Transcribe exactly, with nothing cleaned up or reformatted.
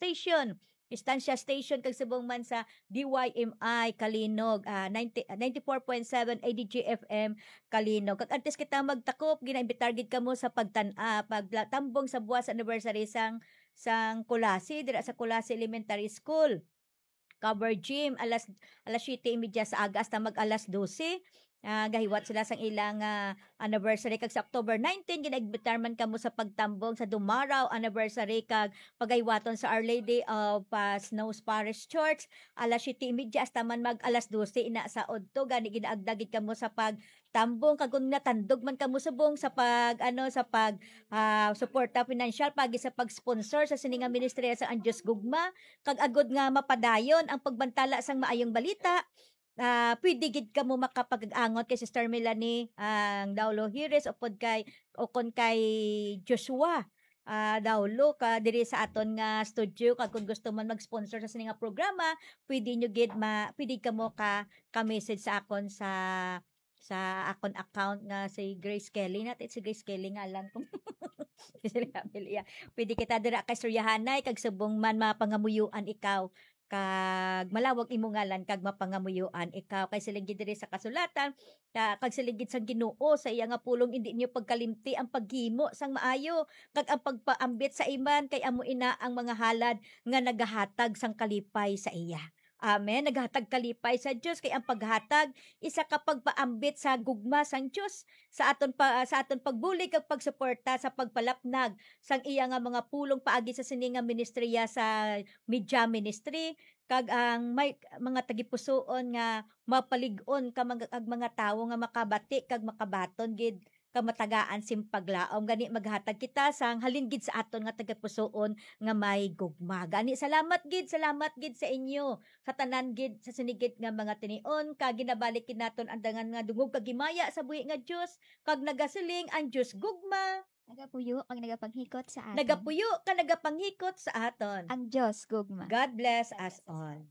Station, Estancia Station, kag subong man sa D Y M I Calinog, ah, ninety, ah, ninety-four point seven A D G F M Calinog. Kag antes kita magtakop, ginaimbitar gid kamo sa pagtan-, ah, pagla-, tambong sa buwas anniversary sang, sang Culasi, dira sa Culasi Elementary School. Cover gym, alas, alas siyete y media sa aga hasta mag alas dose. Ah, gahiwat sila sang ilang, ah, anniversary, kag sa October nineteen, ginaimbitar man kamo sa pagtambong sa dumaraw anniversary kag pagahiwaton sa Our Lady of, ah, Snows Parish Church, alas siyete y media hasta man mag alas dose ina sa udto. Gani ginaagda gid kamo sa pagtambong, kag kon natandog man kamo subong sa pag, ano, sa pag, ah, suporta pinansyal pagi sa pag-sponsor sa sini nga ministry sa Ang Diyos Gugma, kag agod nga mapadayon ang pagbantala sang maayong balita, ah, pwede gid kamo makapag-angot kay Sister Melanie, ang Daulo Hires, upod kay, o kon kay Joshua, ah, Daulo, ka diri sa aton nga studio. Kag kung gusto man mag-sponsor sa sini nga programa, pwede nyo gid ma-, pwede kamo ka, ka-message sa akon sa, sa akon account nga si Grace Kelly. Natin si Grace Kelly nga lang kung Pwede kita dira kay istoryahanay, kag subong man mapangamuyoan ikaw, kag malawag imo ngalan, kag mapangamuyoan ikaw. Kay siling gid diri sa kasulatan, ka-, kag siling gid sang Ginoo sa iya nga pulong, indi niyo pagkalimti ang paghimo sang maayo, kag ang pagpaambit sa iban, kay amo ina ang mga halad nga nagahatag sang kalipay sa iya. Amen. Naghatag kalipay sa Dios, kay ang paghatag isa ka pagpaambit sa gugma sang Dios sa aton pa, sa aton pagbulig kag pagsuporta sa pagpalapnag sang iya nga mga pulong paagi sa sini nga ministriya sa media ministry, kag ang may mga tagipusoon nga mapalig-on ka mga, kag mga tawo nga makabati kag makabaton gid kamatagaan sing paglaom. Gani maghatag kita sang halin gid sa aton nga tagipusoon nga may gugma. Gani salamat gid, salamat gid sa inyo, sa tanan gid, sa sini gid nga mga tinion, kag ginabalik gid naton ang dangan nga dungog kag himaya sa buhi nga Dios, kag nagasiling ang Dios gugma. Nagapuyo kag nagapanghikot sa aton. Nagapuyo kag nagapanghikot sa aton. Ang Dios gugma. God bless us all.